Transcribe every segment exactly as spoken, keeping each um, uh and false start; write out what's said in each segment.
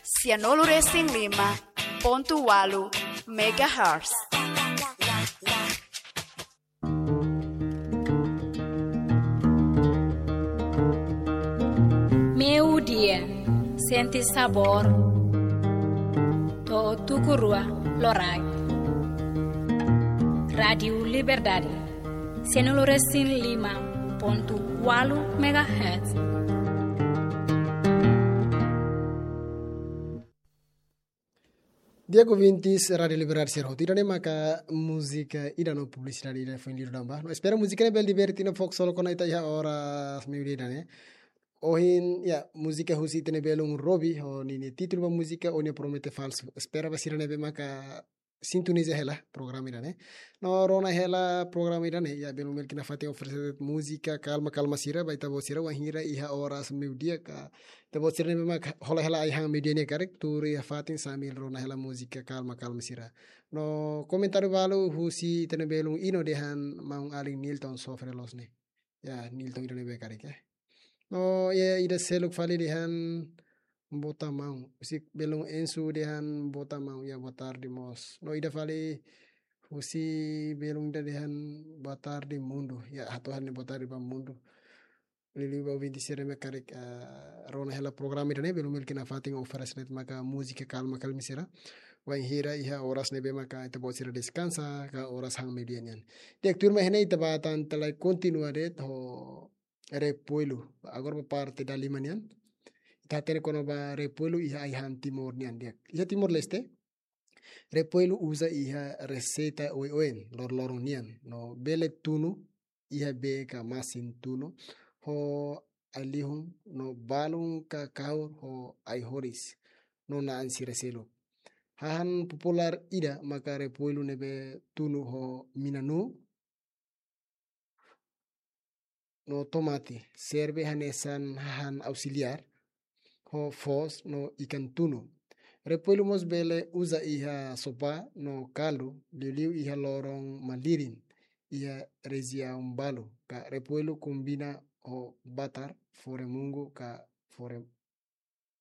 Sianulu resin lima pontu walu megahertz. Meiudia, sente sabór. To'o tuku rua loraik. Rádiu Liberdade, sianulu resin lima pontu walu megahertz. Di'ak ouvintes Rádiu Liberdade sira hotu, ida-ne'e maka múzika ida no publisidade ida foin liu tanba. No espera múzika ne'e bele diverte no fokus solo kona ita iha oras meiudia ida-ne'e. Ohin, ya, múzika husi ita-nia belun Robi, ho ninia títulu ba múzika O Nia Promete Falsu. Espera ba sira ne'ebé maka sintoniza hela programa ida-ne'e. No rona hela programa ida-ne'e, ya, belun belun ita nafatin oferese múzika kalma-kalma sira ba ita-boot sira wainhira iha oras meiudia ka ita-boot sira ne'ebé maka hola hela ai-han meiudia ne'e karik, tuur iha fatin sambil rona hela múzika kalma-kalma sira. No komentáriu balu husi ita-nia belun Ino dehan maun-alin Nilton sofre loos ne'e. Ya, Nilton ida-ne'ebé karik, eh. No, ya, ida seluk fali dehan boa tarde maun. Husi belun Ensu dehan boa tarde maun, ya, boa tarde mós. No, ida fali husi belun ida dehan boa tarde mundu. Ya, hato'o ha'u-nia boa tarde ba mundu. Liuliu ba ouvinte sira ne'ebé karik, ah, rona hela programa ida-ne'e, belun belun ita nafatin oferese de'it maka múzika kalma-kalma sira. Wainhira iha oras ne'ebé maka ita-boot sira deskansa, ka oras han meiudia nian. Di'ak, tuirmai iha ne'e ita bá tan tiha lai kontinua de'it ho Repuelu. Agora ba parte dala lima nian. Ita hatene kona-ba Repuelu iha ai-han Timor nian, di'ak. Iha Timor-Leste, Repuelu uza iha reseita oioin, loroloron nian. No bele tunu iha bee ka masin tunu, ho ai-lihun no balun ka kahur ho ai-horis no na'an sira seluk. Hahán populár ida maka Repuelu ne'ebé tunu ho mina-nuu no tomate, serve hanesan hahán ausiliár, ho foos no ikan tunu. Repuelu mós bele uza iha sopá no kaldu, liuliu iha loron malirin, iha rejiaun balu, ka Repuelu kombina ho batar, fó remungu, ka fó re-,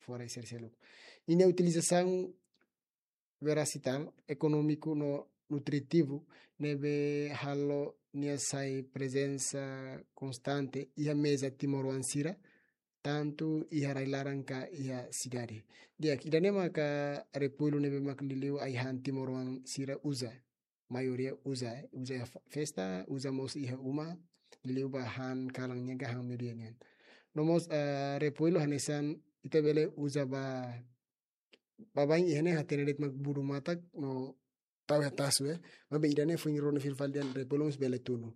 fó rai sira seluk. Ninia utilizasaun versatál, ekonómiku no nutritivu, ne'ebé halo nia sai prezensa konstante iha meza timoroan sira, tantu iha rai-laran ka iha sidade. Di'ak, ida-ne'e maka Repuelu ne'ebé maka liuliu ai-han timoroan sira uza. Maioria uza, eh, uza iha fe-, festa, uza mós iha uma, liuliu ba han kalan nian ka han meiudia nian. No mós, eh, Repuelu hanesan ita bele uza ba baibain iha ne'e hatene de'it mak budu matak no tau iha tasu, eh. Maibé ida-ne'e foin rona fila fali dehan Repuelu mós bele tunu.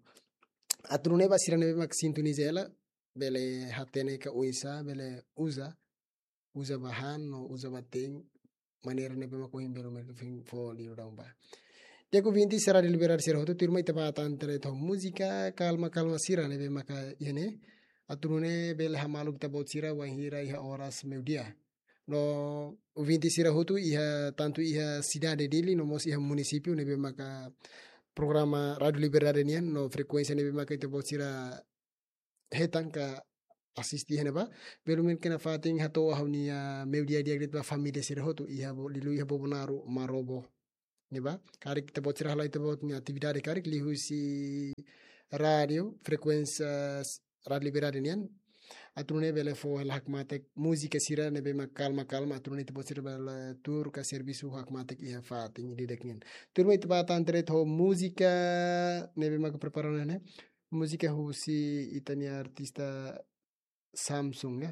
Atu nune'e ba sira ne'ebé mak sintoniza hela, bele hatene ka oinsá bele uza, uza ba han no uza ba te'in, maneira ne'ebé mak ohin belun belun foin fó liu daudaun ba. Di'ak, ouvinte sira Rádiu Liberdade sira hotu, tuirmai ita bá tan tiha lai ho múzika kalma-kalma sira ne'ebé maka iha ne'e. Atu nune'e bele hamaluk ita-boot sira wainhira iha oras meiudia. No ouvinte sira hotu iha, tantu iha sidade Dili, no mós iha munisípiu ne'ebé maka programa Rádiu Liberdade nian, no frekuénsia ne'ebé maka ita-boot sira hetan ka asiste iha ne'ebá. Belun belun ita nafatin hato'o ha'u-nia meiudia di'ak de'it ba família sira hotu iha Bo-, liuliu iha Bobonaro, Marobo. Ne'ebá, karik ita-boot sira hala'o ita-boot nia atividade karik liuhusi rádiu, frekuénsia s-, Rádiu Liberdade nian. Atu nune'e bele fó hela hakmatek múzika sira ne'ebé mak kalma-kalma, atu nune'e ita-boot sira bele tuur ka servisu hakmatek iha fatin ida-idak nian. Tuirmai ita bá tan tiha lai ho múzika ne'ebé mak prepara ona ne'e. Múzika husi ita-nia artista Samsung, ya.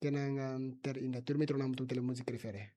Kenangan Terindah. Tuirmai ita rona hamutuk tiha lai múzika refere.